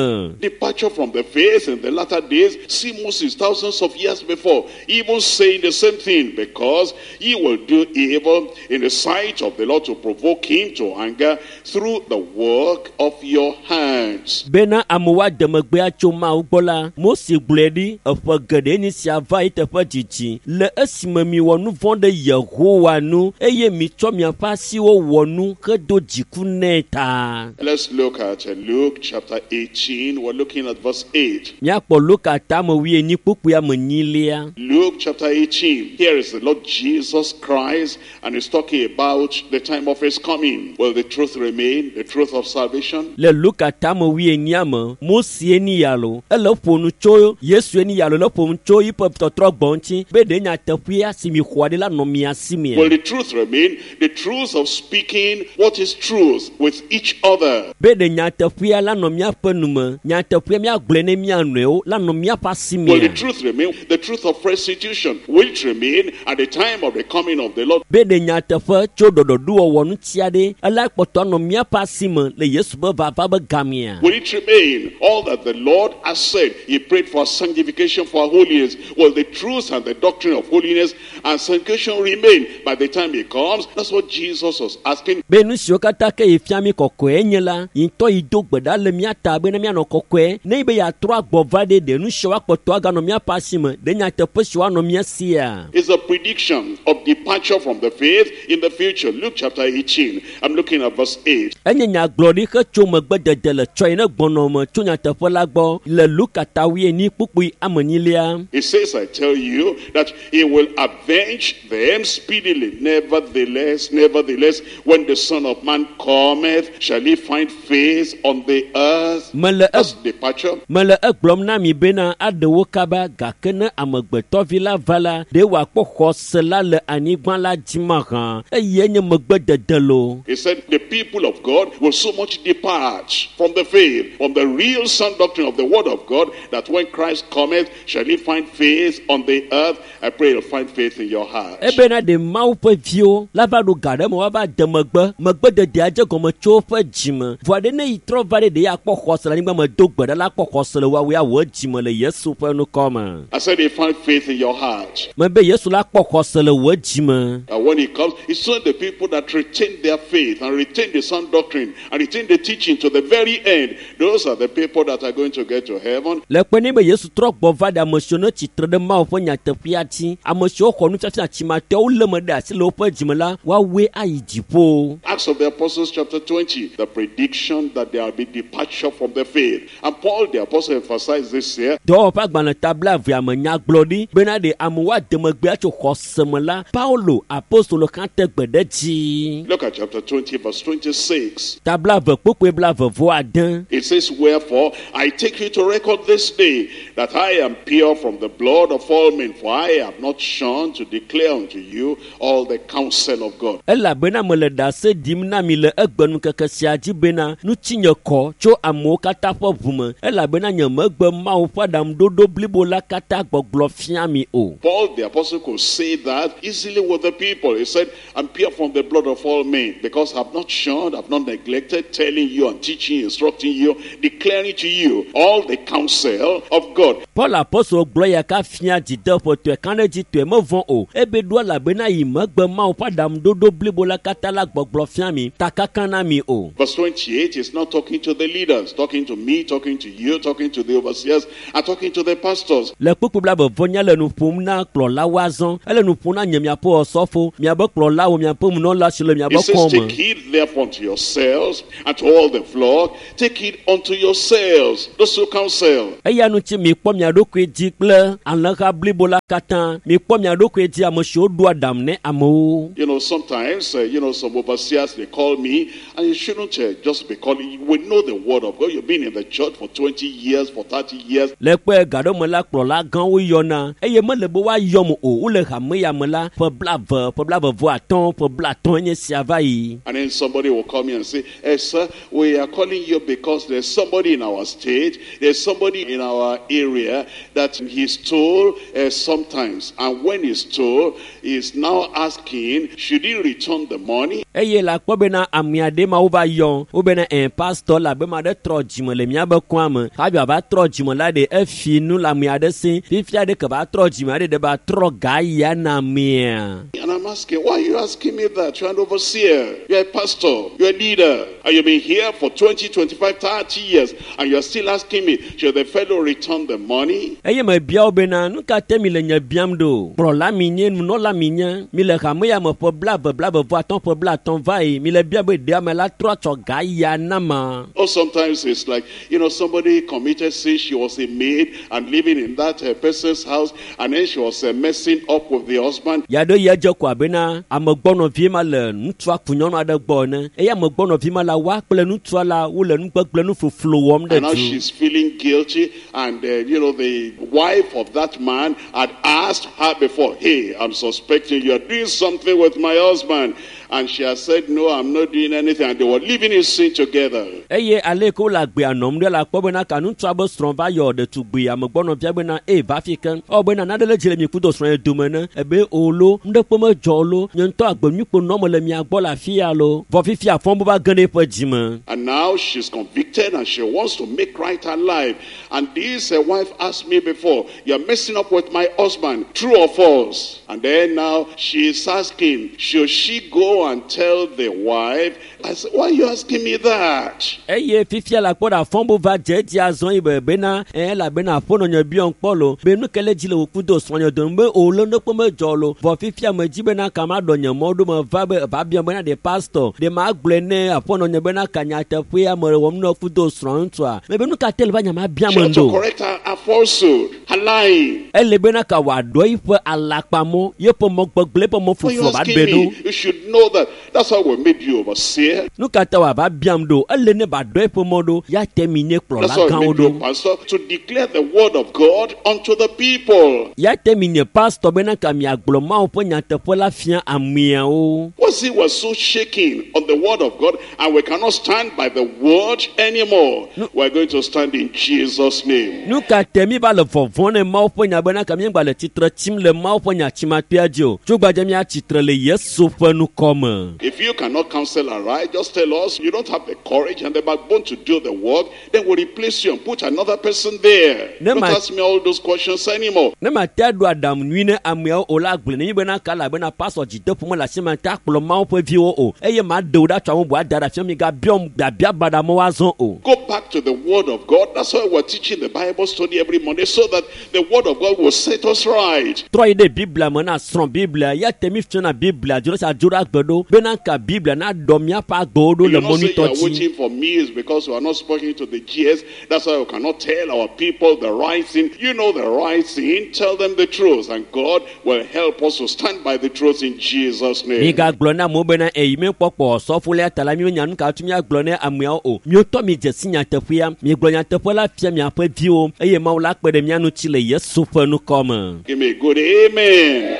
Departure from the faith in the latter days, see Moses thousands of years before, even saying the same thing, because he will do evil in the sight of the Lord to provoke him to anger through the work of your hands. Bena amewo ade megbe atso Mawu gbɔ la, Mose gblɔe ɖi eƒe geɖe nye sia va yi teƒe dzidzi le esime miwɔ nu vɔ̃ ɖe Yehowa nu eye mitsɔ miaƒe asiwo wɔ nu hedo dziku nɛ ta. Let's look at Luke chapter 18. We're looking at verse 8. Míakpɔ Luka tame wuienyi kpukpui ame enyilia. Luke chapter 18. Here is the Lord Jesus Christ, and he's talking about the time of his coming. Will the truth remain? The truth of salvation? Le Luka tame wuienyia me, Mose ni ya lo, ele ƒo nu tso Yesu ni ya lo, le ƒo nu tso yiƒe tɔtrɔ gbɔ ŋuti be ɖe nyateƒea si mi xɔa ɖi la nɔ mia si mea. Will the truth remain? The truth of speaking what is truth with each other. Be ɖe nyateƒea la nɔ míaƒe nu me, nyateƒea míagblɔe ne mía nɔewo la nɔ míaƒe asi Will the mea. truth remain? The truth of restitution. Will it remain at the time of the coming of the Lord? Be ɖe nyateƒe tso ɖɔɖɔɖowɔwɔ ŋuti aɖe ela kpɔtɔ anɔ míaƒe asi me le Yesu ƒe vava be gamea. Will it remain all that the Lord has said? He prayed for sanctification, for holiness. Will the truth and the doctrine of holiness and sanctification remain by the time he comes? That's what Jesus was asking. Be nu siwo katã ke yi fia mi kɔkɔe nye la, yi ŋutɔ yi do gbe ɖa le mía ta bena míanɔ kɔkɔe. Ne yi be yeatrɔ agbɔ va ɖe ɖe nu siwo akpɔtɔ aganɔ míaƒe asi me, ɖe nyateƒe siwo anɔ mía sia. It's a prediction of departure from the faith in the future. Luke chapter 18. I'm looking at verse 8. Enye nyagblɔɖi hetso megbedede le tsɔe ne gbɔnɔ me tso nyateƒe la gbɔ le Luka ta wuienyi kpukpui ame enyilia. He says, I tell you that he will avenge them speedily. Nevertheless, nevertheless, when the Son of Man cometh, shall he find faith on the earth? Mele That's departure. Mele egblɔm na mi bena aɖe wo kaba gake ne amegbetɔvi la va la, ɖe wòakpɔ xɔse la le anyigba la dzi mahã eye nye megbedede lo. He said the people of God will so much depart from the faith, from the real sound doctrine of the word of God, that when Christ cometh, shall he find faith on the earth? I pray you'll find faith in your heart. Ebena ɖe Mawu ƒe viwo la va ɖo ga ɖe me woava de megbe, megbededea dze gɔme tso woƒe dzime. Vɔa ɖe ne yi trɔ va ɖe ɖe akpɔ xɔse le anyigba me do gbe ɖa la akpɔ xɔse le woawoe awɔ dzime le Yesu ƒe ŋkɔ me. I said you find faith in your heart. Mebe Yesu la kpɔ xɔse le wò dzime. And when he comes, it's only the people that retain their faith and retain the sound doctrine and retain the teaching to the very end. Those are the people that are going to get to heaven. Le kpe ne be Yesu trɔ gbɔ va ɖe ame siwo ne tsitre ɖe Mawu ƒe nyateƒea dzi, ame siwo xɔ nufiafia tsimatɔwo lé me ɖe asi le woƒe dzime la, woawoe ayi dziƒo. Acts of the Apostles chapter 20, the prediction that there will be departure from the faith. And Paul the apostle emphasized this here. Dɔwɔƒe agbalẽ ta blaevea me nyagblɔɖi bena ɖe amewo ade megbe atso xɔse me la, Paulo apostolo hã te gbe ɖe dzi. Look at chapter 20, verse 26. Ta blaeve kpukpui blaeve vɔ ade. It says, Wherefore I take you to record this day that I am pure from the blood of all men, for I have not shunned to declare unto you all the counsel of God. Elabena mele ɖase ɖim na mi le egbenukeke sia dzi bena ŋutinye kɔ tso amewo katã ƒe ʋu me elabena nye megbe Mawu ƒe aɖaŋuɖoɖo blibo la katã gbɔgblɔ fia mi o. Paul the apostle could say that easily with the people. He said, I'm pure from the blood of all men, because I've not shunned, I've not neglected telling you and teaching, instructing you, declaring to you all the counsel of God. Paul apostolo gblɔ ya ɖeka fia dzideƒotɔe kan ɖe dzi tɔe mevɔ̃ o ebe ɖo elabena yi megbe Mawu ƒe aɖaŋuɖoɖo blibo la katã la gbɔgblɔ fia mi takaka na mi o. Verse 28 is not talking to the leaders, talking to me, talking to you, talking to the overseers, and talking to the pastors. Le kpukpu blaeve vɔ nya le nu ƒom na kplɔlawo azɔ ele nu ƒom na nye miaƒe ɔsɔfo miabe kplɔlawo miaƒe munɔla si le miabe It says, kɔme. Take heed therefore unto yourselves and to all the flock. Take heed unto yourselves, those who counsel. Eya ŋuti mikpɔ mia ɖokui dzi kple alẽha blibo la katã mikpɔ mia ɖokui dzi ame siwo ɖoa aɖaŋu ne amewo. Sometimes, some overseers, they call me, and you shouldn't just be calling. We know the word of God. You've been in the church for 20 years, for 30 years. Le kpe gaɖome la kplɔla gãwo yɔna eye mele be woayɔm o wole hame ya me la ƒe 20 ƒe 25 ƒe 50 nye sia va yi. And then somebody will call me and say, Hey, sir, we are calling you because there's somebody in our state, there's somebody in our area that he stole sometimes. And when he stole, he's now asking, should he return the money? Eye le akpɔ bena ame aɖe ma wova yɔ wobena ɛ pastor la be ma ɖe trɔ dzime le miabe kɔa me hafi wòava trɔ dzime la ɖe efi nu le ame aɖe si fifia ɖe ke va trɔ dzime aɖe ɖe va trɔ ga ya na amea. And I'm asking, why are you asking me that? You're an overseer, you're a pastor, you're a leader, and you've been here for 20, 25, 30 years, and you're still asking me, should the fellow return the money? Eye mebia wo bena nu ka te mi le nye biam ɖo kplɔla mi nye nunɔla mi nye mi le hame ya me ƒe 20 25 ƒe 50 va yi mi le bia be ɖe ame la trɔ tsɔ ga ya na ma. Or sometimes it's like, somebody committed sin, she was a maid and living in that person's house, and then she was messing up with the husband. Ya ɖe ya dze ko abena amegbɔnɔvi ma le ŋutsua ku nyɔnu aɖe gbɔ ene eye amegbɔnɔvi ma la woa kple ŋutsua la wole nugbegble nufoflo wɔm ɖe And now du. she's feeling guilty, and the wife of that man had asked her before, hey, I'm suspecting you're doing something with my husband. And she has said, no, I'm not doing anything. And they were living in sin together. Eye ale yi ke wole agbea nɔm ɖe la kpɔ bena ka ŋutsua be srɔ̃ va yɔ ɖetugbui amegbɔnɔvia bena eye va fi ke ewɔ bena naɖe le dzi le mi kudo srɔ̃ dome ne ebe o lo nuɖekpe medzɔ o lo nye ŋutɔ agbenyuikpo nɔm le mia gbɔ le afi ya lo vɔ fifia fɔm va ge ɖe eƒe dzime. And now she's convicted and she wants to make right her life. And this wife asked me before, you're messing up with my husband, true or false? And then now she's asking, should she go and tell the wife? I said, why are you asking me that? Eye fifia la kpɔ ɖe afɔmbo va dze edzi azɔ yi be bena elabena aƒenɔ nye biɔm kpɔ lo be nu ke le dzi le wò kudo srɔ̃nye dome be o lo nuɖekpe medzɔ lo vɔ fifia me dzi bena ka ma ɖɔ nye mɔ ɖo me va be va biɔm bena ɖe pastor ɖe ma gblɔe ne aƒenɔ nye bena ka nyateƒea me wɔm nɔ kudo srɔ̃ ŋutsua me be nu ka te le va nya ma biam She ought to ɖo. correct her falsehood, her lying. Ele bena ka wòaɖɔ yiƒe alakpamɔ yeƒe mɔ gbegblẽ eƒe mɔ Why you foflo va asking ɖe ɖo. me? You should know that. That's how we made you overseer. Nu ka ta wòava biam ɖo ele ne ba ɖɔ eƒe mɔ ɖo ya te mi nye kplɔla That's how we gãwo made you ɖo. pastor, to declare the word of God unto the people. Ya te mi nye pastor bena ka miagblɔ Mawu ƒe nyateƒe la fia ameawo. Was it was so shaking on the word of God, and we cannot stand by the word anymore. We're going to stand in Jesus' name. Nu ka te mi va le vɔvɔ̃ ne Mawu ƒe nya bena ka míegba le tsitre tsim le Mawu ƒe nya tsimakpea dzi o. Tso gbadze mía tsitre le Yesu ƒe nukɔme. If you cannot counsel aright, just tell us you don't have the courage and the backbone to do the work, then we'll replace you and put another person there. Ne Don't ma- ask me all those questions anymore. Ne ma te aɖo aɖaŋu nyui ne ameawo o la gblɔe ne mi bena ka elabena pastor dzideƒo mele asi ma te akplɔ Mawu ƒe viwo o eye ma ɖe wo ɖa tso ame bubu ada ɖe afia mi gabiɔm biabia baɖa me woazɔ o. Go back to the word of God. That's why we're teaching the Bible study every Monday, so that the word of God will set us right. Trɔ yi ɖe Biblia me na srɔ̃ Biblia ya te mi fiana Biblia dzo ɖe sia dzo ɖe agbe ɖo bena ka Biblia na ɖɔ míaƒe agbewo ɖo You le not say you mɔ are nyuitɔ dzi. waiting for me is because we are not speaking to the GS. That's why we cannot tell our people the right thing. You know the right thing. Tell them the truth, and God will help us to stand by the truth in Jesus' name. Migagblɔ na amewo bena eyi míekpɔkpɔ sɔfolia ta la mímenya nu ka tu míagblɔ ne ameawo o. Miotɔ mi dze si nyateƒea, miegblɔ nyateƒe la fia miaƒe viwo eye Mawu la kpe ɖe mía ŋuti le Yesu ƒe nukɔme. Give me a good amen.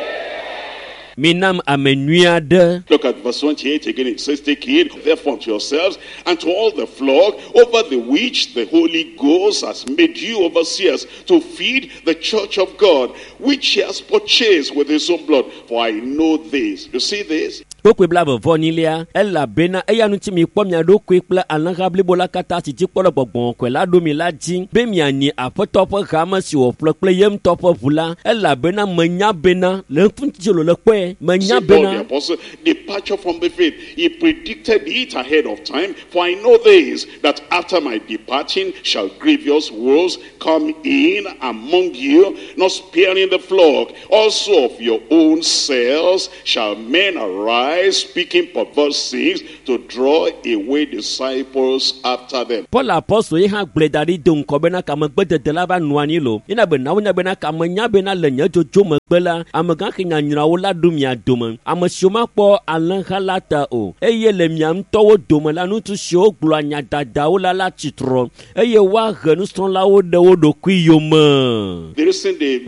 Minam ame nyui aɖe. Look at verse 28 again. It says, Take heed therefore unto yourselves and to all the flock over the which the Holy Ghost has made you overseers to feed the church of God, which he has purchased with his own blood. For I know this. You see this? Kpokpoe 29lia, elabena eya ŋuti mikpɔ mia ɖokui kple alẽha blibo la katã si dzikpɔ le gbɔgbɔ kɔkɔe la ɖo mi la dzi be mianyi aƒetɔ ƒe hame si wòƒle kple ye ŋutɔ ƒe ʋu la, elabena menya bena le ŋuti le kpɔe menya See, Paul the bena apostle, departure from the faith. He predicted it ahead of time. For I know this, that after my departing shall grievous wolves come in among you, not sparing the flock. Also of your own selves shall men arise, speaking perverse things, to draw away disciples after them. Paul apɔstol ye hã gblɔe da ɖi do ŋkɔ bena kamegbedede la va nɔ anyi lo. Yina be nawo nya bena kame nya bena le nye dzodzo megbe la, amegã xe nyanyrɔawo la ɖo mia dome. Ame siwo makpɔ alẽha la ta o. Eye le mia ŋutɔwo dome la, ŋutsu siwo gblɔa nya dadawo la la tsitrɔ eye woahe nusrɔ̃lawo ɖe wo ɖokui yome. The reason they,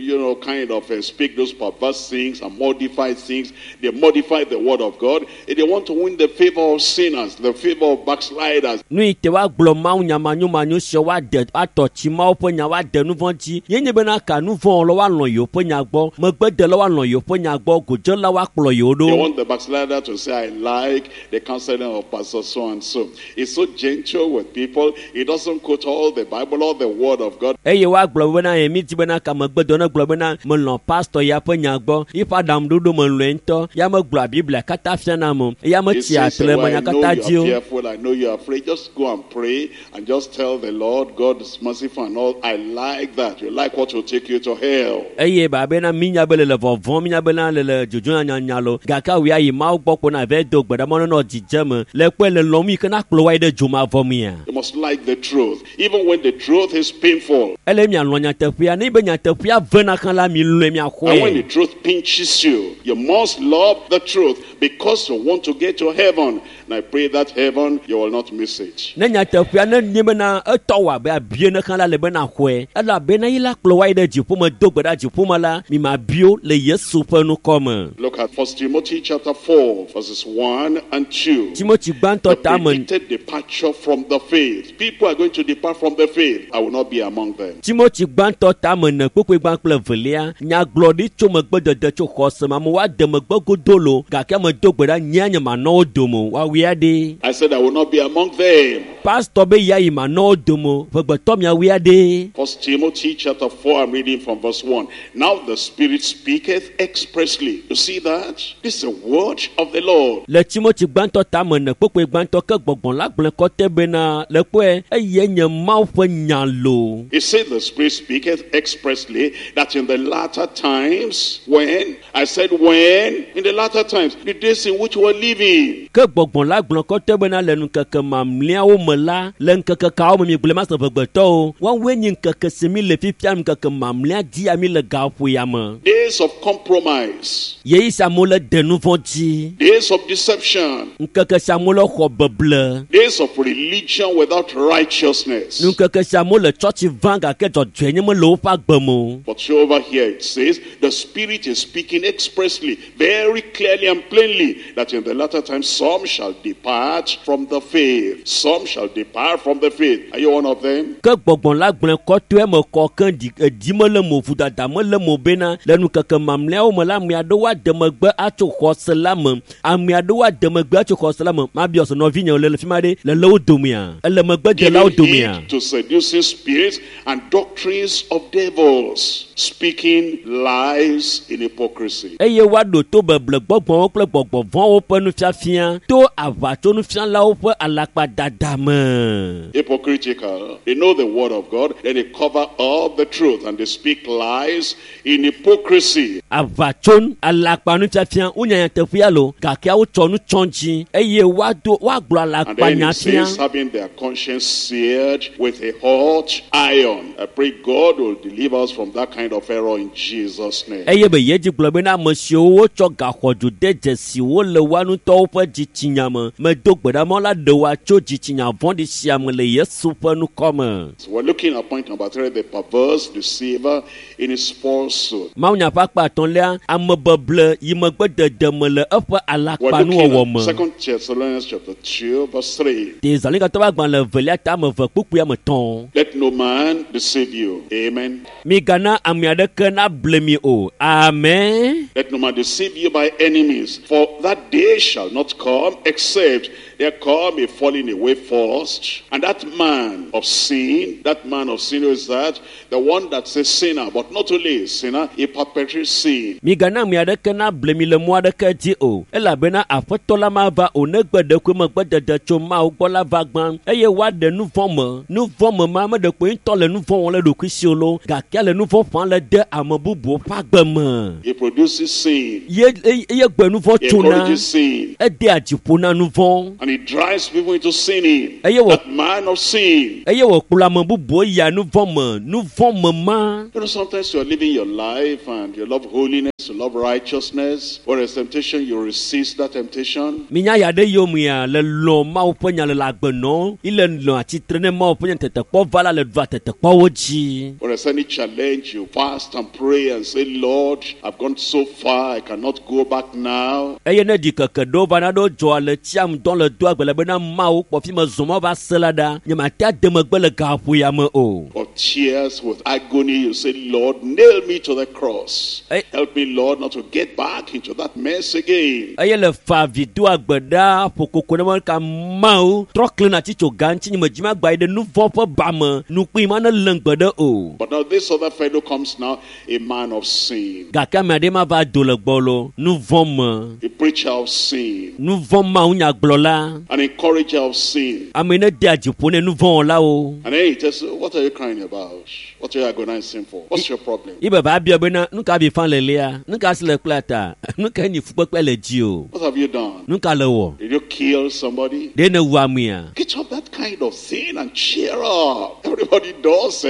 kind of speak those perverse things and modify things, they modify the word of God. They want to win the favor of sinners, the favor of backsliders. Nu yi te woagblɔ mawu nya manyomanyo sia woade atɔ tsi mawu ƒe nya woade nu vɔ̃ dzi. Ye nye bena ka nu vɔ̃ wɔlawo woalɔ̃ yewo ƒe nya gbɔ, megbedelawo woalɔ̃ yewo ƒe nya gbɔ, godzelawo woakplɔ yewo They ɖo. want the backslider to say, I like the counseling of Pastor so and so. He's so gentle with people. He doesn't quote all the Bible or the word of God. Eye woagblɔ bena ye mi di bena ka megbedɔ ne gblɔ bena melɔ̃ pastɔ ya ƒe nya gbɔ, yiƒe aɖaŋuɖoɖo melɔ̃e ŋutɔ, ya megblɔa Biblia katã fiana ame o, eya He metsia says, atre well, me I nya know katã you dzi are o. fearful. I know you are afraid. Just go and pray and just tell the Lord, God is merciful and all. I like that. You like what will take you to hell. Eye babena mi nya be le le vɔvɔ̃m, mi nya bena le le dzodzo nyanya lo, gake awu ya yi Mawu gbɔ ko na va do gbe ɖa mɔ nenɔ dzidzeme le kpɔe le lɔm yi ke na kplɔ wa yi ɖe dzomavɔ mea. You must like the truth, even when the truth is painful. Ele mialɔ̃ nyateƒea, ne be nyateƒea vena hã la, mi lɔ̃e And when the miaxɔe. truth pinches you, you must love the truth because you want to get to heaven. And I pray that heaven, you will not miss it. Ne nyateƒea ne nye bena etɔ wɔ abe abie ne hã la le bena xɔe, elabena yi la kplɔ wa yi ɖe dziƒome do gbe ɖa dziƒome la, mi ma bio le Yesu ƒe ŋkɔ me. Look at 1 Timothy chapter 4, verses 1 and 2. Timothy gbãtɔ The tame predicted departure from the faith. People are going to depart from the faith. I will not be among them. Timothy gbãtɔ tame ene kpukpui gbã kple evelia nyagblɔɖi tso megbedede tso xɔse me amewo ade megbe godo lo gake ame do gbe ɖa nyea nye manɔ wo dome o woawui aɖe. I said I will not be among them. Pastɔ be ya yi manɔ wo dome o ʋegbetɔ miawui aɖe. 1 Timothy chapter 4, I'm reading from verse 1. Now the Spirit speaketh expressly. You see that? This is the word of the Lord. Le Timothy gbãtɔ tame ene kpukpui gbãtɔ ke gbɔgbɔ la gblɔe kɔtɛ bena le kpɔe eye nye Mawu ƒe nya lo. He said the Spirit speaketh expressly that in the latter times, when, I said when, in the latter times, the days in which we're living, Ke gbɔgbɔ la gblɔ kɔtɛ bena le ŋkeke mamlɛawo me la, le ŋkeke kawo me mi gblɔe ma se ʋegbetɔwo, woawoe nye ŋkeke si mi le fifia ŋkeke mamlɛa dia mi le gaƒo ya me. days of compromise, Yeyi sia amewo le de nu vɔ̃ dzi. days of deception, Ŋkeke sia amewo le xɔ beble. days of religion without righteousness. Ŋkeke sia amewo le tsɔtsi vam gake dzɔdzɔenye mele woƒe agbe me o. But over here it says, the Spirit is speaking expressly, very clearly and plainly, that in the latter times some shall depart from the faith. Some shall depart from the faith. Are you one of them? Ke gbɔgbɔ la gblɔe kɔtɔe me kɔ ke ɖi eɖi mele mo vodada mele mo bena le ŋkeke mamlɛawo me la ame aɖewo ade megbe atso xɔse la me. Ame aɖewo ade megbe atso xɔse la me. Mabiɔ se nɔvinye le le fi ma ɖe le le wo domea. Ele megbedelawo Giving domea. heed to seducing spirits and doctrines of devils, speaking lies in hypocrisy. Eye woaɖo to beble gbɔgbɔwo kple gbɔgbɔ vɔ̃wo ƒe nufiafia to aʋatsonufialawo ƒe alakpadada me. Hypocritical. They know the word of God, then they cover up the truth and they speak lies in hypocrisy. Aʋatso alakpa nufiafia wonya nyateƒea lo gake wotsɔ nu tsɔ dzi eye woado woagblɔ And then alakpanya it fia. says, having their conscience seared with a hot iron. I pray God will deliver us from that kind of error in Jesus' name. Eye be yedzi gblɔ bena ame siwo wotsɔ gaxɔdzo de dzesi wo le woa ŋutɔwo ƒe dzitsinya me medo gbe ɖa mɔ la ɖe woa tso dzitsinya vɔ̃ɖi sia me le Yesu ƒe ŋkɔ me. So we're looking at point number 3, the perverse deceiver in his falsehood. Mawunya ƒe akpa atɔ̃lia, amebeble yi megbedede me le eƒe We're alakpanuwɔwɔ looking me. at 2 Thessalonians chapter 2, verse 3. Tesalonikato ƒe agbalẽ evelia ta ame eve kpukpui ame etɔ̃. Let no man deceive you. Amen. Migana ame aɖeke nable mi o. Amen. Let no man deceive you by any means, for that day shall not come except there come a falling away first. And that man of sin, that man of sin who is that? The one that's a sinner, but not only a sinner, he perpetrates sin. Migana ame aɖeke nable mi le mɔ aɖeke dzi o, elabena aƒetɔ la mava o negbe ɖekui megbedede tso Mawu gbɔ la va gbã eye woaɖe nu vɔ̃ me. Nu vɔ̃ me ma ame ɖekpo ŋutɔ le nu vɔ̃ wɔm le ɖokui si o lo, gake le nu vɔ̃ ƒãm le de ame bubuwo ƒe agbe me. He produces sin. Ye eye gbe nu vɔ̃ He tsona, encourages sin. edea dziƒo na nu vɔ̃ And he drives people into sinning. Eye wɔ That man of sin. eye wòkplɔ ame bubuwo yia nu vɔ̃ me. Nu vɔ̃ me ma. You know, sometimes you're living your life and you love holiness, you love righteousness. When there's temptation, you resist that temptation. Minya ya ɖe yomea le lɔ Mawu ƒe nya le le agbe nɔm ile nɔ atsitre ne Mawu ƒe nya tetekpɔ va la le ɖua tetekpɔwo dzi. When there's any challenge, you fast and pray and say, Lord, I've gone so far, I cannot go back now. Eye ne ɖikeke ɖewo va na ɖewo dzɔ le tsiam dɔn le doa gbe le bena Mawu kpɔ fi me zɔm va se la ɖa nyemate ade megbe le gaƒo ya me o. With tears, with agony, you say, Lord, nail me to the cross. Hey. Help me, Lord, not to get back into that mess again. Eye le fa vi doa gbe ɖa ƒo koko ne me ka Mawu trɔ kle na tsi tso ga ŋuti nye me dzi magba yi ɖe nu vɔ̃ ƒe ba me nukpui ma ne lém gbe ɖe o. But now this other fellow comes now, a man of sin, Gake ame aɖe ma va do le gbɔ lo nu vɔ̃ me. a preacher of sin, Nu vɔ̃ Mawu nyagblɔla. an encourager of sin. Ame yi ne dea dziƒo ne nu vɔ̃ wɔlawo. And then he tells you, what are you crying about? What are you agonizing for? What's your problem? Ibe va bia bena nu ka vi fa lelia, nu ka si le kpla ta, nu ka nyi fukpekpe le dzi o, What have you done? nu ka le wɔ? Did you kill somebody? Ɖe ne wu amea? Get up that kind of thing and cheer up. Everybody does,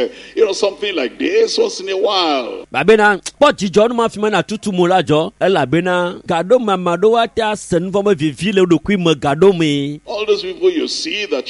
something like this once in a while. Babena kpɔ dzidzɔ nu ma fi ma na tutu mo la dzɔ elabena gaɖo me ame aɖewo ate ase nu vɔ̃ be vivi le wo ɖokui me gaɖo mee. All those people you see that,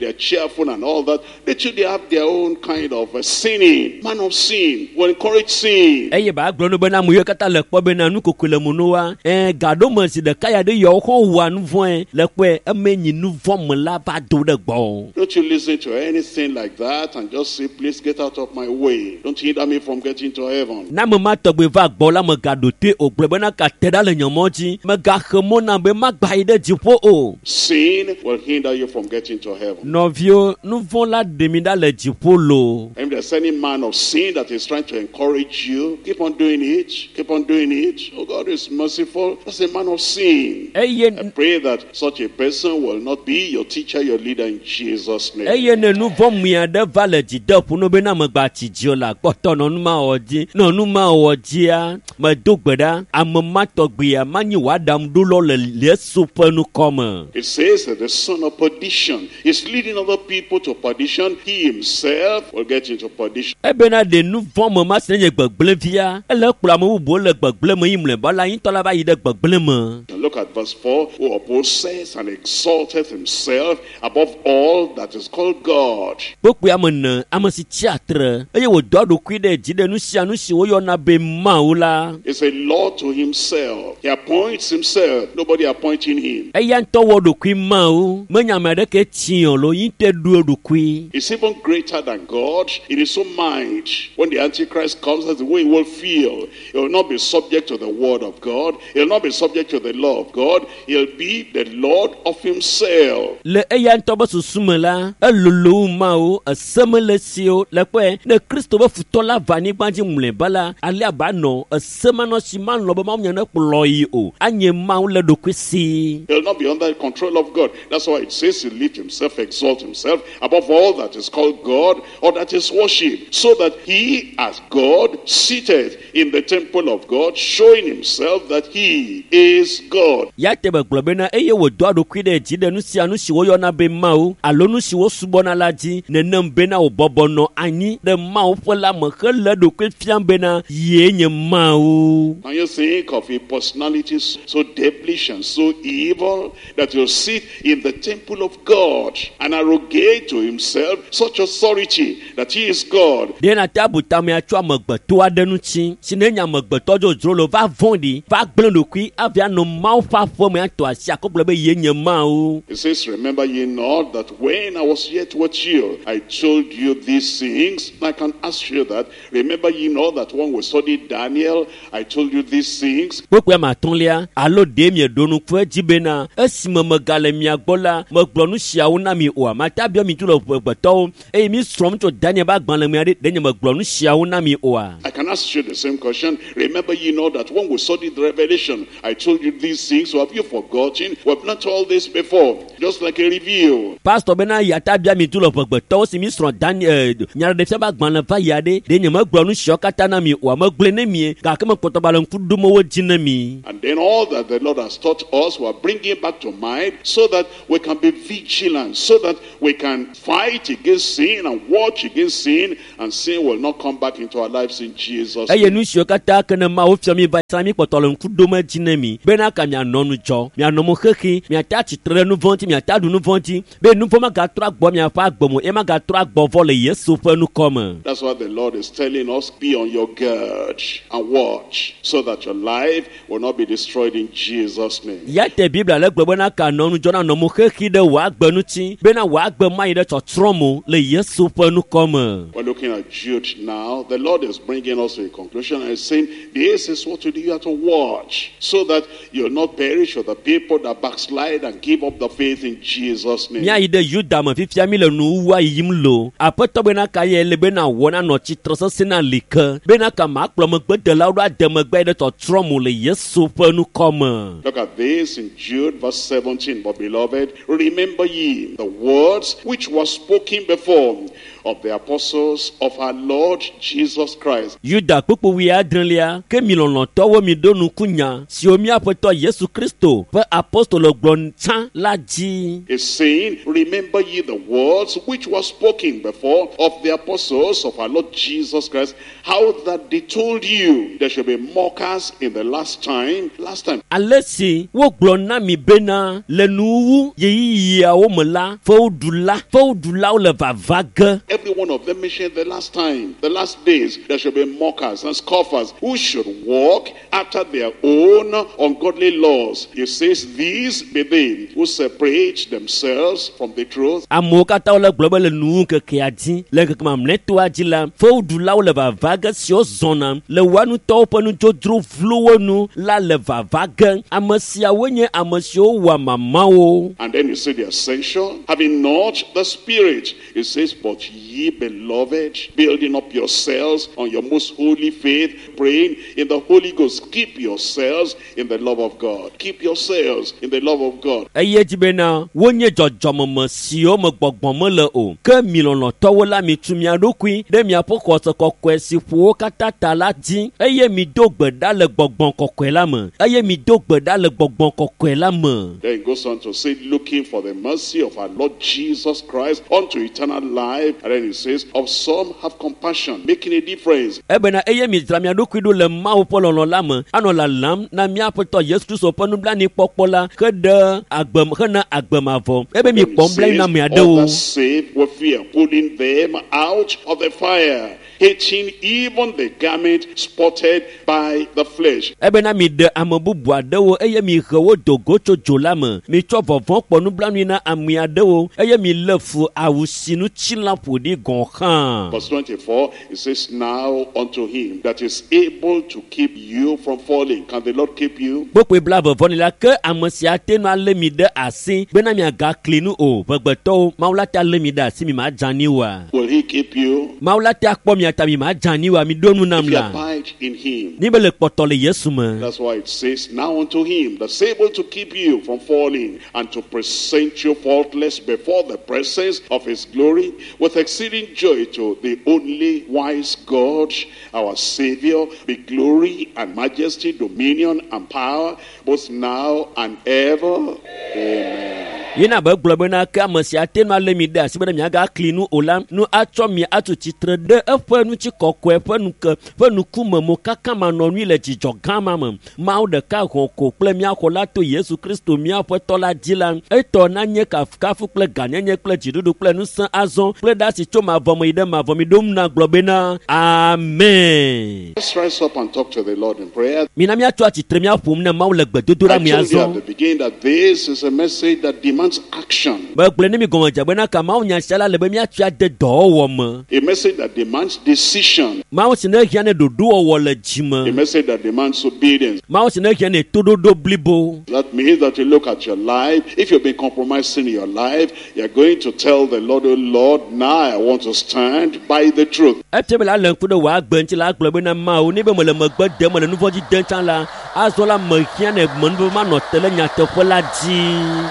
they're cheerful and all that, they too, they have their own kind of sinning. Man of sin will encourage sin. Eye ba gblɔ no bena ame yiwo katã le kpɔ bena nu kokoe le mo no wa, ɛɛ gaɖo me zi ɖeka ya ɖe yawo xɔ wua nu vɔ̃e le kpɔe eme nyi nu vɔ̃ me la va do ɖe gbɔ. Don't you listen to anything like that and just say, please get out of my way. Don't hinder me from getting to heaven. Na ame ma tɔgbe va gbɔ la megaɖo toe o gblɔ bena ka te ɖa le nye mɔ dzi megaxe mɔ nam be magba yi ɖe dziƒo o. Sin will hinder you from getting to heaven. Nɔviwo, nu vɔ̃ la ɖe mi ɖa le dziƒo loo. And if there's any man of sin that is trying to encourage you, keep on doing it. Keep on doing it. Oh, God is merciful. That's a man of sin. Eye I pray that such a person will not be your teacher, your leader in Jesus' name. eye ne nu vɔ̃ mia ɖe va le dzi de ƒo no bena megba tsi dzi o la kpɔtɔ nɔ nu ma wɔ dzi nɔ nu ma wɔ dzia medo gbe ɖa ame ma tɔgbea manyi wòaɖaŋuɖolɔ le Yesu ƒe ŋkɔ me. It says that the son of perdition is leading other people to perdition. He himself will get into perdition. Ebena ɖe nu vɔ̃ me ma si ne nye gbegblẽvia ele kplɔ ame bubuwo le gbegblẽ me yi mlɔeba la ŋutɔ la va yi ɖe gbegblẽ me. And look at verse 4, who opposes and exalteth himself above all that is called God. Kpokpoe ame ene ame si tsi atre eye wòdoa ɖokui ɖe dzi ɖe nu sia nu si woyɔna be Mawu la. Is a Lord to himself. He appoints himself. Nobody appointing him. Eya ŋutɔ wɔ ɖokui Mawu menya ame aɖeke tsi o lo yi ŋutɔe ɖo eɖokui. He's even greater than God in his own mind. When the Antichrist comes, that's the way he will feel. He will not be subject to the word of God. He'll not be subject to the law of God. He'll be the Lord of himself. Le eya ŋutɔ be susu me la, elolo wu Mawu, ese mele esi o. Le kpɔe, ne Kristo be futɔ la va anyigba dzi mlɔeba la, alea ba nɔ ese manɔ si malɔ̃ be Mawu nya ne kplɔ yi o. Anye Mawu le ɖokui si. He'll not be under the control of God. That's why it says he lift himself, exalt himself above all that is called God or that is worshipped, so that he, as God, seated in the temple of God, showing himself that he is God. God. Ya te be gblɔ bena eye wòdoa ɖokui ɖe dzi ɖe nu sia nu si woyɔna be Mawu alo nu si wosubɔna la dzi nenem bena wòbɔbɔ nɔ anyi ɖe Mawu ƒe la me hele ɖokui fiam bena yee nye Mawu. Can you think of a personality so devilish and so evil that will sit in the temple of God and arrogate to himself such authority that he is God? Ɖe nate abu tamea tso amegbetɔ aɖe ŋuti si ne nye amegbetɔ dzodzro lo va vɔ̃ɖi va gblẽ ɖokui avi anɔ Mawu ƒe aƒeme atɔ asi akɔ gblɔ be ye nye Mawu. It says, Remember ye not that when I was yet with you, I told you these things. I can ask you that. Remember ye not that when we studied Daniel, I told you these things. Kpukpui ame atɔ̃lia alo ɖe mieɖo ŋku edzi bena esime megale mia gbɔ la megblɔ nu siawo na mi oa mate abiɔ mi tso le ƒegbetɔwo eye mi srɔ̃m tso Daniel ƒe agbalẽ me aɖe ɖe nye megblɔ nu siawo na mi oa. I can ask you the same question. Remember ye not that when we studied the Revelation, I told you these things. So have you forgotten? We have learnt all this before, just like a review. Pastor bena yata bia mi tu le ƒegbetɔwo si mi srɔ̃ Daniel nyaɖeɖefia ƒe agbalẽ va yia ɖe ɖe nye megblɔ nu siawo katã na mi oa megblɔe ne mie gake mekpɔtɔ ba le ŋku ɖom wo dzi ne mi. And then all that the Lord has taught us, we are bringing back to mind so that we can be vigilant, so that we can fight against sin and watch against sin, and sin will not come back into our lives in Jesus' eye name. nu siwo katã ke ne Mawu fia mi va sã mi kpɔtɔ le ŋku ɖom edzi ne mi bena ka mianɔ nu dzɔ mianɔ mo xexi miate atsitre ɖe nu vɔ̃ ŋuti miate aɖu nu vɔ̃ dzi be nu vɔ̃ magatrɔ agbɔ miaƒe agbe me eye magatrɔ agbɔ vɔ le Yesu ƒe nukɔ me. That's why the Lord is telling us, be on your guard and watch, so that your life will not be destroyed in Jesus' name. Ya te Biblia le gblɔ bena ka nɔ nu dzɔ na nɔ mo xexi ɖe wò agbe ŋuti bena wò agbe mayi ɖe tsɔtsrɔ̃ mo le Yesu ƒe nukɔ me. We're looking at Jude now. The Lord is bringing us to a conclusion and saying, this is what you do. You have to watch so that you'll not perish with the people that backslide and give up the faith in Jesus' name. Míayi ɖe Yuda me fifia mi le nuwuwua yiyim lo. Aƒetɔ bena ka ye le bena wɔ na nɔ tsitre sesẽ na li ke bena ka makplɔ megbedelawo ɖo ade megbe yi ɖe tsɔtsrɔ̃ mo le Yesu ƒe nukɔ me. Look at this in Jude verse 17. But beloved, remember ye the words which were spoken before of the apostles of our Lord Jesus Christ. Yuda kpukpu wuiadrelia ke mi lɔlɔ̃tɔwo mi ɖo ŋku nya siwo mía Aƒetɔ Yesu Kristo ƒe apostolo gblɔ tsã la dzi. Is saying, remember ye the words which were spoken before of the apostles of our Lord Jesus Christ, how that they told you there should be mockers in the last time. Last time. Ale si wogblɔ na mi bena le nuwuwu ɣeyiɣiawo me la fewuɖulawo le vava ge. Every one of them mentioned the last time, the last days, there should be mockers and scoffers who should walk after their own ungodly laws. He says, these be they who separate themselves from the truth. Amewo katã wole gblɔ be le nuwu ŋkekea dzi le ŋkeke mamlɛtɔa dzi la fewuɖulawo le vava ge siwo zɔna le woa ŋutɔwo ƒe nudzodzro vlowo nu la le vava ge. Ame siawo nye ame siwo wɔa mamawo. And then you see the essential, having not the Spirit. It says, but ye beloved, building up yourselves on your most holy faith, praying in the Holy Ghost. Keep yourselves in the love of God. Keep yourselves in the love of God. Eye dzi bena wonye dzɔdzɔmeme siwo me gbɔgbɔ mele o ke mi lɔlɔ̃tɔwo la mitu mia ɖokui ɖe miaƒe xɔse kɔkɔe si ƒo wo katã ta la dzi eye mido gbe ɖa le gbɔgbɔ kɔkɔe la me eye mido gbe ɖa le gbɔgbɔ kɔkɔe la me. Then it goes on to say, looking for the mercy of our Lord Jesus Christ unto eternal life. And then it says, of some have compassion, making a difference. Ebena eye midzra mia ɖokui ɖo le Mawu ƒe lɔlɔ̃ la me anɔ lalam na mía Aƒetɔ Yesu Kristo ƒe nublanuikpɔkpɔ la heɖe agbe hena agbe mavɔ ebe Then mikpɔ it nublanui says, na ame aɖewo. others save with fear, pulling them out of the fire, hating even the garment spotted by the flesh. Ebena miɖe ame bubu aɖewo eye mihe wo do go tso dzo la me. Mitsɔ vɔvɔ̃ kpɔ nublanui na ame aɖewo eye milé fu awu si ŋutilã ƒo ɖi gɔ̃ hã. Verse 24, it says, now unto him that is able to keep you from falling. Can the Lord keep you? Kpukpui blaeve-vɔ-ene la ke ame sia te nu alé mi ɖe asi bena miagakli nu o. Ʋegbetɔwo, Mawu la te alé mi ɖe asi mi madze anyi oa? Will he keep you? Mawu la te akpɔ mia mia ta mi ma dze anyi oa mi ɖo nu nam If you la abide in him. ni be le kpɔtɔ le Yesu me. That's why it says, Now unto him that's able to keep you from falling and to present you faultless before the presence of his glory with exceeding joy, to the only wise God, our Savior, be glory and majesty, dominion and power, both now and ever. Amen. Yina be gblɔ bena ke ame sia te nu alé mi ɖe asi bena miagakli nu o la, nu atsɔ mi atu tsitre ɖe eƒe ŋutikɔkɔe ƒe nuke ƒe nukume mo kaka manɔnui le dzidzɔ gã ma me. Mawu ɖeka hɔ̃ ko kple mía xɔla to Yesu Kristo mía Aƒetɔ la dzi la, etɔ nanye kafukafu kple gãnyenye kple dziɖuɖu kple ŋusẽ azɔ kple ɖe asi tso mavɔ me yi ɖe mavɔ me. Ɖom na gblɔ bena amen. Let's rise up and talk to the Lord in prayer. Mina míatso atsitre míaƒom ne Mawu le gbedodoɖa I me told you at azɔ. the beginning that this is a message that demands action. Megblɔe ne mi gɔmedze bena ka Mawu nya sia la le be míatsoe ade dɔwɔwɔ me. A message that demands decision. Mawu si ne hiã ne ɖoɖowɔwɔ le A dzime. message that demands obedience. Mawu si ne hiã ne toɖoɖo blibo. That means that you look at your life. If you've been compromising your life, you're going to tell the Lord, Oh Lord, now I want to stand by the truth. Efia be la le ŋku ɖe wò agbe ŋuti la agblɔ bena Mawu ne be mele megbe dem mele nu vɔ̃ dzi dem tsã la, azɔ la mehiã ne menuveve manɔ te ɖe nyateƒe la dzi.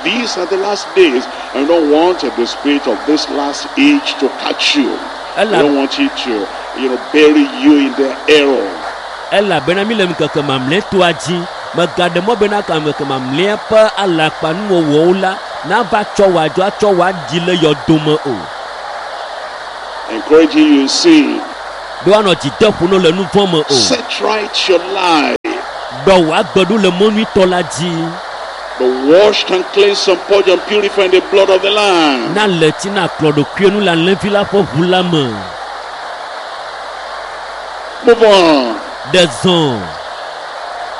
These are the last days. I don't want the spirit of this last age to catch you. I Ella- don't want it to, bury you in the error. Elabena mi le ŋkeke mamlɛtɔa dzi. Megaɖe mɔ bena ka ŋkeke mamlɛa ƒe alakpanuwɔwɔwo la nava tsɔ wò adzo atsɔ wò aɖi le yɔdome o. Encouraging you in sin. Be woanɔ dzi dem ƒo ne le nu vɔ̃ me o. Set right your life. Ɖɔ wò agbe ɖo le mɔ nyuitɔ la dzi. Be washed and cleansed and purged and purified in the blood of the Lamb. Na le tsi na kplɔ ɖokuiwo nu le alẽvi la ƒe ʋu la me. Move on. Ɖe zɔ.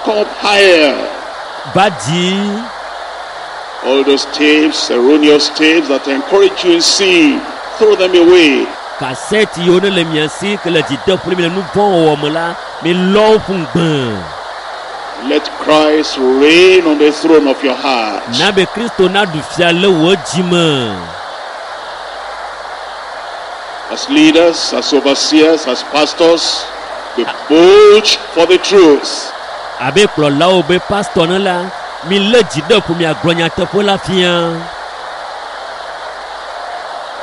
Come up higher. Va dzi. All those tapes, erroneous tapes that encourage you in sin, throw them away. Kasɛti yiwo ne le mia si ke le dzi dem ƒo ne mi le nu vɔ̃ wɔwɔ me la, mi lɔ wo ƒu ŋgbe. Let Christ reign on the throne of your heart. Na be Kristo naɖu fia le wò dzi me. As leaders, as overseers, as pastors, be bold for the truth. Abe kplɔlawo be pastɔ ne la, mi lé dzi ɖe ƒo miagblɔ nyateƒe la fia.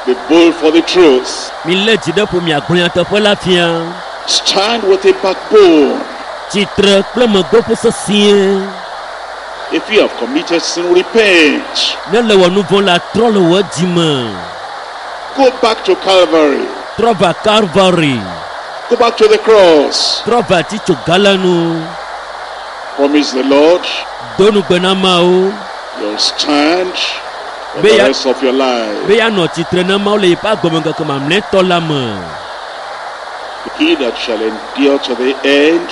Be bold for the truth. Mi lé dzi ɖe ƒo miagblɔ nyateƒe la fia. Stand with a backbone. Tsitre kple megbeƒo sesĩe. If you have committed sin, repent. Ne le wɔ nu vɔ̃ la, trɔ le wò dzi me. Go back to Calvary. Trɔ va Calvary. Go back to the cross. Trɔ va titsoga la nu. Promise the Lord Do nugbe na Mawu you'll stand for Be the ya- rest of your life. be yeanɔ tsitre na Mawu le yeƒe agbemeŋkeke mamlɛtɔ la me. He that shall endure to the end,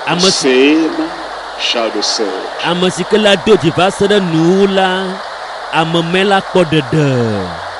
the Ame si same shall be saved. ame si ke la do dzi va se ɖe nuwuwu la, ame mɛ la kpɔ ɖeɖe.